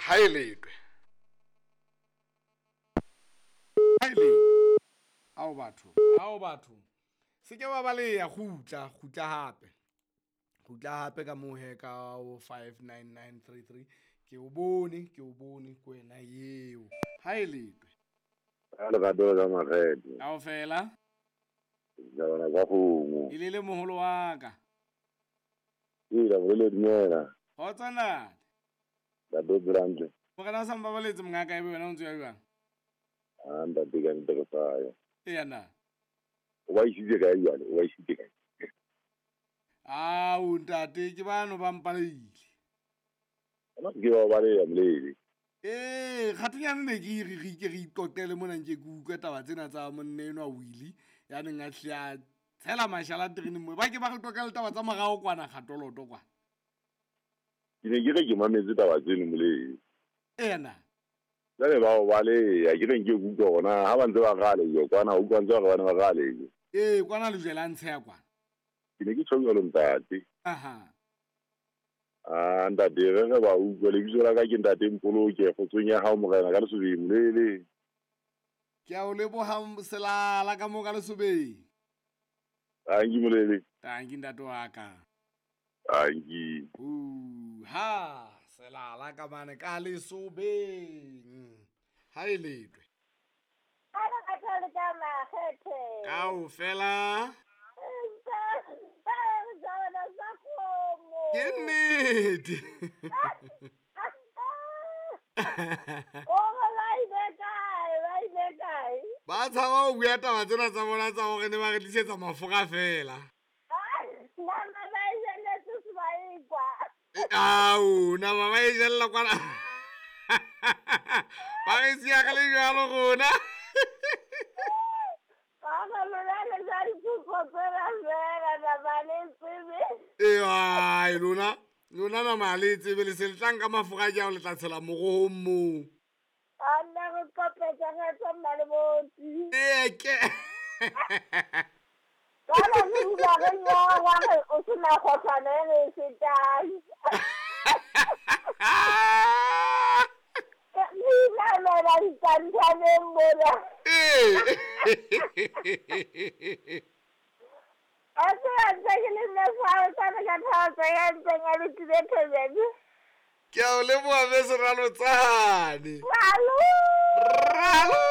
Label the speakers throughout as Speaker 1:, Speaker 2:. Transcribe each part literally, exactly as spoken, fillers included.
Speaker 1: Ha e letwe. Ha e letwe. Ao batho, ao batho. Se ke wa baleya, kgutla, kgutla hape. Kgutla hape ka moo he ka o five nine nine three three. Ke o bone, ke o bone ko wena eo. Ha e letwe.
Speaker 2: Ha le rado ka makgethe.
Speaker 1: Kaofela.
Speaker 2: Ja bona ka kgomo.
Speaker 1: E le le moholo wa ka.
Speaker 2: Ee, la bolele dumela.
Speaker 1: Kgotso ntate.
Speaker 2: Ntate Brandle.
Speaker 1: Morena sa mbabaletse mongaka ebe wena o ntse o ya jwang?
Speaker 2: Ah, ntate ka ntate re sa ya.
Speaker 1: Eya na.
Speaker 2: O ba isitse kae jwale? O ba isitse kae?
Speaker 1: Ao ntate ke bano ba mpaleile.
Speaker 2: Ana ke ba baleya molele.
Speaker 1: Eh, kgatinyane ne ke re re ke re iqoqele mona nke ke utlwe taba tsena tsa monna enwa Willy ya neng a hle a tshela mashala tereneng mo. Ba ke ba re qoqele taba tsa morao kwana kgatoloto kwana.
Speaker 2: Ke ne ke re ke mametse taba tseno molele.
Speaker 1: Ena.
Speaker 2: Jwale ba o baleya ke re nke ke utlwa hona ha ba ntse ba rale jo kwana o utlwa ntse ba re ba ne ba rale jo.
Speaker 1: Eh, kwana lejwe la ntsheya kwana.
Speaker 2: Ke ne ke tjho jwalo ntate.
Speaker 1: Aha.
Speaker 2: Ah, ntate re re ba utlwa lebitso la ka ke ntate Mpoloke kgotsong ya hao morena ka Lesobeng molele.
Speaker 1: Ke a o leboha selala ka moo ka Lesobeng.
Speaker 2: Tanki molele.
Speaker 1: Tanki ntate wa ka.
Speaker 2: Tanki.
Speaker 1: Uh, ha selala ka mane ka Lesobeng. Ha e letwe.
Speaker 3: Ha re ka tla ka makgethe.
Speaker 1: Kaofela. Ke nnete. Ba tshaba ho bua taba tsena tsa bona tsa hore ne ba re tlisetsa mafura fela. Ao, nama ba e jella kwana. Ba re siya ka le jwalo rona. Ee, lona lona nama le tsebe le se le tlang ka mafura ke ao le tla tshela morohong moo. Ee, ke. Ee. Ke a o leboha be seralotsane.
Speaker 3: Ralo.
Speaker 1: Ralo.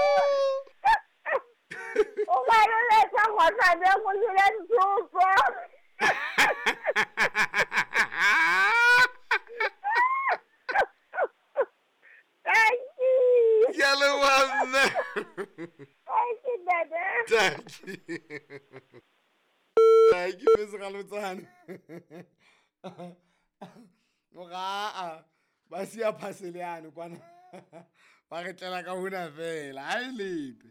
Speaker 3: O ba roletsa kgohlane go jela ditshopo. Thank you.
Speaker 1: Ke a leboha mme.
Speaker 3: Thank you, Dada.
Speaker 1: Thank you. Thank you, be seralotsane. Ora ba siya parcel yane kwana. Ba re tlela ka hona fela. Ha e letwe.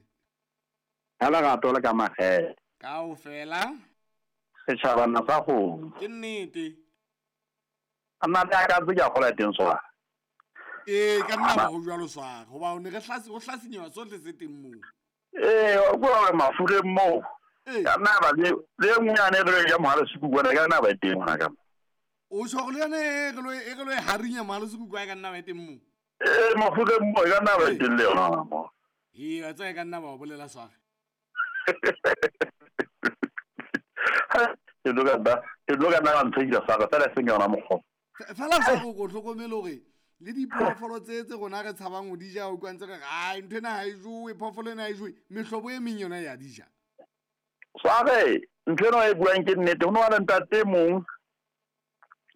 Speaker 4: Ha lerato le ka makgethe.
Speaker 1: Kaofela.
Speaker 4: Setjhabana sa kgomo.
Speaker 1: Ke nnete.
Speaker 4: A nna le ka tse ke a kgola teng swara.
Speaker 1: Ee, ka nna ba ho jwalo swara. Hoba o ne re hlasi o hlasinyewa sohle se teng moo.
Speaker 4: Ee, o bua hore mafureng moo.
Speaker 1: Ee.
Speaker 4: Ka nna ba le le nngwe yane re ya mohale sekuku ka nna ba e teng hona ka mo.
Speaker 1: O tjho hore le yane e re lo e re lo e harinya mohale sekuku ka nna ba e teng moo.
Speaker 4: Ee, mafureng moo e ka nna ba e teng le yona mo.
Speaker 1: Ee, wa tseba e ka nna ba o bolela swara.
Speaker 4: Ke tlo ka nna ke tlo ka nna ka ntshehisa swara fela e seng yona mokgwa.
Speaker 1: Fela sa go go hlokomele hore le diphoofolo tse tse rona re tshabang ho di ja o utlwa ntse re re ai ntho ena ha e jowe phoofolo ena ha e jowe mehlobo e meng yona ya di ja.
Speaker 4: Sware ntho ena e buang ke nnete ho no le ntate mong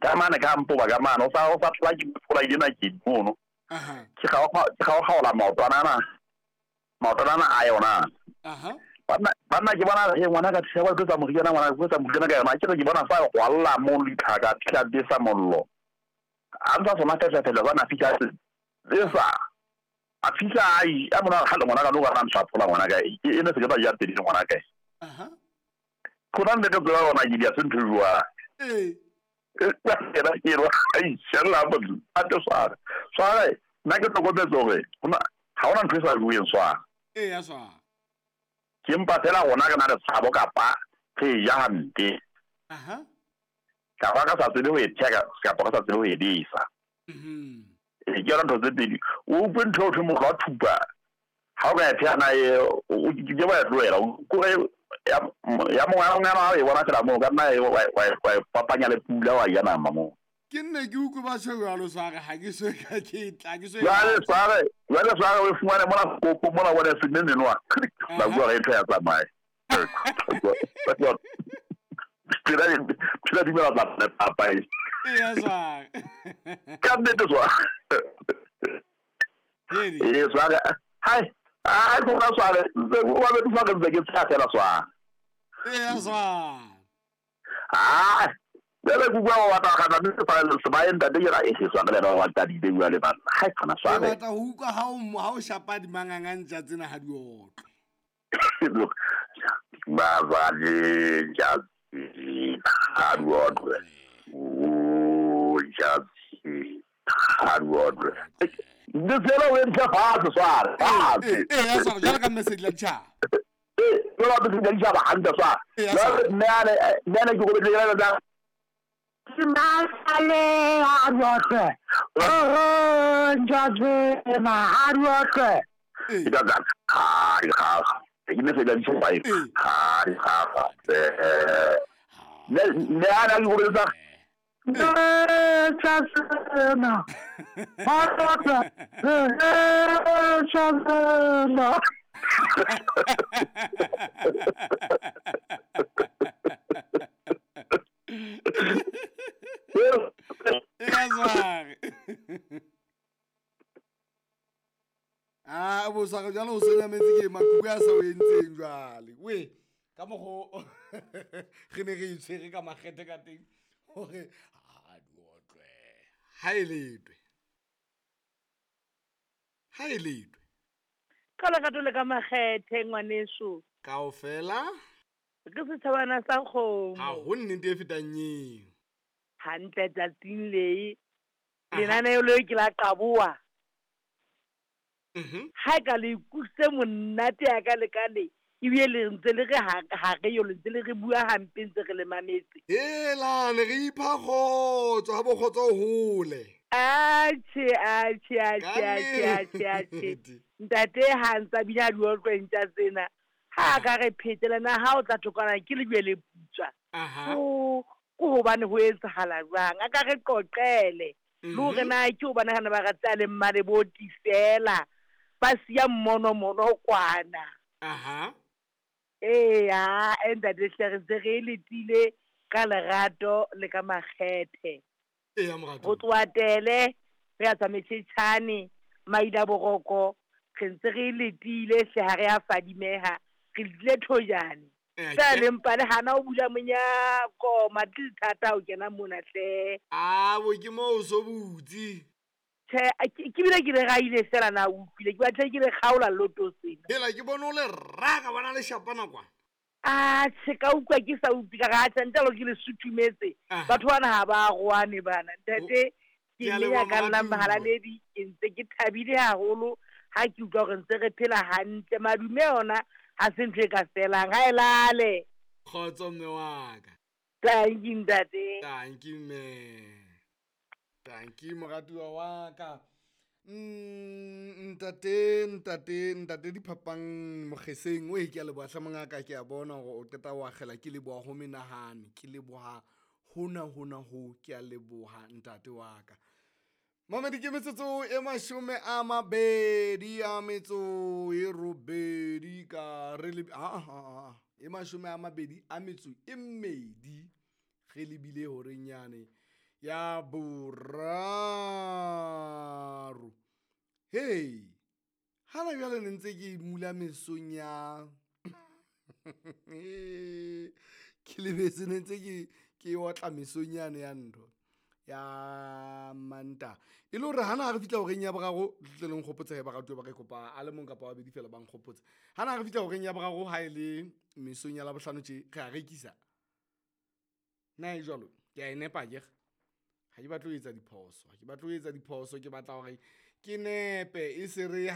Speaker 4: ka mane ka mpoba ka mane o sa o sa tla ke phola ena ke mono.
Speaker 1: Aha.
Speaker 4: Ke ga o ke ga o gaola maotwana ana. Maotwana ana a yona.
Speaker 1: Aha.
Speaker 4: Banna banna ke bona he ngwana ka tshewa ke tsa moriana ngwana ke tsa moriana ka yona ke re ke bona sa go alla mo lithaka tla besa mollo. A ntsa sona ka tla bana fika besa. A fika ai a mona ga le ngwana ka no ba ntsa phola ngwana ka e ne se ke ba ya pedi ngwana ka.
Speaker 1: Aha.
Speaker 4: Khona nne ke tsela ona ke dia sentho jwa.
Speaker 1: Ee.
Speaker 4: Ke ra ke ra ai shella bo a to swara. Swara nna ke tlhokometse hore hona ha ona ntho e sa bueng swara.
Speaker 1: Ee ya swara.
Speaker 4: Ke mpa fela rona re na le tshabo kapa re ja hampe.
Speaker 1: Aha.
Speaker 4: Kapa ka sa tsebe ho e theka kapa ka sa tsebe ho e disa.
Speaker 1: Mhm.
Speaker 4: Ke yona ntho tse pedi. O utlwe ntho eo thwe mokgwa wa thupa. Ha o ka e pheha na e o ke wa e tlohela. Kore ya ya mongwe ya mongwe ha o e bona fela moo ka nna wa wa papanya le pula wa ja nama moo.
Speaker 1: Ke nne ke utlwe ba tjho jwalo sware ha ke so ka ke tla ke so.
Speaker 4: Jwale sware jwale sware o fumane mona kopo mona bona se nne nwa. Ba bua re ntho ya tsamaye. Phela phela dumela tla papa e.
Speaker 1: Eya sware.
Speaker 4: Ka nnete sware. Ee sware. Hai ai ko na sware. Wa be sware ntse ke tsaya fela sware.
Speaker 1: Eya sware.
Speaker 4: Ah Bele ku bua wa ta kana mme fa se ba enta de ra e se sware le ba wa ta di bua le bana. Hai kana sware.
Speaker 1: Ke batla ho utlwa ha o ha o shapa di mangangantja tsena ha di otlwe.
Speaker 4: Ba ba le ja ha di otlwe. O ja ha di otlwe. Ndi tsela o entse fatshe sware. Fatshe.
Speaker 1: Eh ya sware jalo ka message la tjha.
Speaker 4: Eh jalo ka message la tjha hantle sware. Nne ane nne ane ke go betle la Masale ha di otlwe. Oh nja ma ha di otlwe. E ka ga ha di ga. Ke message la tjha ha di ga. Eh ne ne ana ke go betle Chasena. Chasena.
Speaker 1: Ah, bo sa jalo o senya metsi ke makuku a sa o entseng jwale. We ka mogo re ne re itshwere ka makgethe ka teng hore ha di otlwe. Ha e letwe. Ha e letwe.
Speaker 3: Ka lerato le ka makgethe ngwaneso.
Speaker 1: Kaofela
Speaker 3: ke setjhabana sa kgomo.
Speaker 1: Ha ho nnete e fetang eo.
Speaker 3: Hantle tsatsing le lenaneo leo ke la qaboa.
Speaker 1: Mhm.
Speaker 3: Ha ka le ikutlwe monate ya ka le ka le ebile le ntse le re ha re yo le ntse le re bua hampe ntse re le mametse.
Speaker 1: Hela ne re ipha kgotso ha bo kgotso hole.
Speaker 3: Atjhe atjhe atjhe atjhe atjhe atjhe. Ntate ha ntsa bina di otlwe ntja tsena. Ha ka re phetela na ha o tla thokana ke le le putswa.
Speaker 1: Aha.
Speaker 3: Ko ko hobane ho etsahala jwang a ka re qoqele. Le hore na ke hobane hana ba rata le mmale bo tifela. Ba siya mmono mono kwana.
Speaker 1: Aha.
Speaker 3: Eh ya ntate hle re ntse re letile ka lerato le ka makgethe.
Speaker 1: Eya morato.
Speaker 3: Ho tloha Tele re ya tsa Metjhetjhane Maida Boroko re ntse re letile hle ha re a fadimeha re letile thojane. Sa le mpa le hana o bula monyako matli thata o kena mona hle.
Speaker 1: Ah bo ke mo o so butse.
Speaker 3: Tjhe ke bile ke le raile fela na utlwile ke batla ke le kgaola loto sena.
Speaker 1: Hela ke bone o le raka bona le shapana kwa.
Speaker 3: Ah tjhe ka utlwa ke sa utlwe ka ga tjha ntalo ke le sutumetse. Batho bana ha ba roane bana. Ntate ke le ya ka nna mahalaledi ke ntse ke thabile haholo ha ke utlwa hore ntse re phela hantle madume ona ha se ntho e ka felang ha e lale.
Speaker 1: Kgotso mme wa ka.
Speaker 3: Thank you ntate.
Speaker 1: Thank you mme. Thank you moratuwa wa ka. Mm ntate ntate ntate diphapang mokgeseng o e ke a leboha hle mongaka ke a bona hore o qeta wa akgela ke leboha ho menahane ke leboha hona hona ho ke a leboha ntate wa ka. Mamedi ke metsotso e mashome a mabedi a metso e robedi ka re le ah ah e mashome a mabedi a metso e mmedi re lebile horeng yane ya boraro. Hey hana jwale ne ntse ke mula mesong ya ke lebetse ne ntse ke ke otla mesong yane ya ntho ya manta e le hore hana re fitla horeng ya boraro tle le nkgopotse he baratuwa ba re kopa a le mong kapa babedi fela ba nkgopotse hana re fitla horeng ya boraro ha e le mesong ya Labohlano tje re a rekisa na e jwalo ke a e nepa ke ha ke batle ho etsa diphoso ha ke batle ho etsa diphoso ke batla hore ke nepe e se re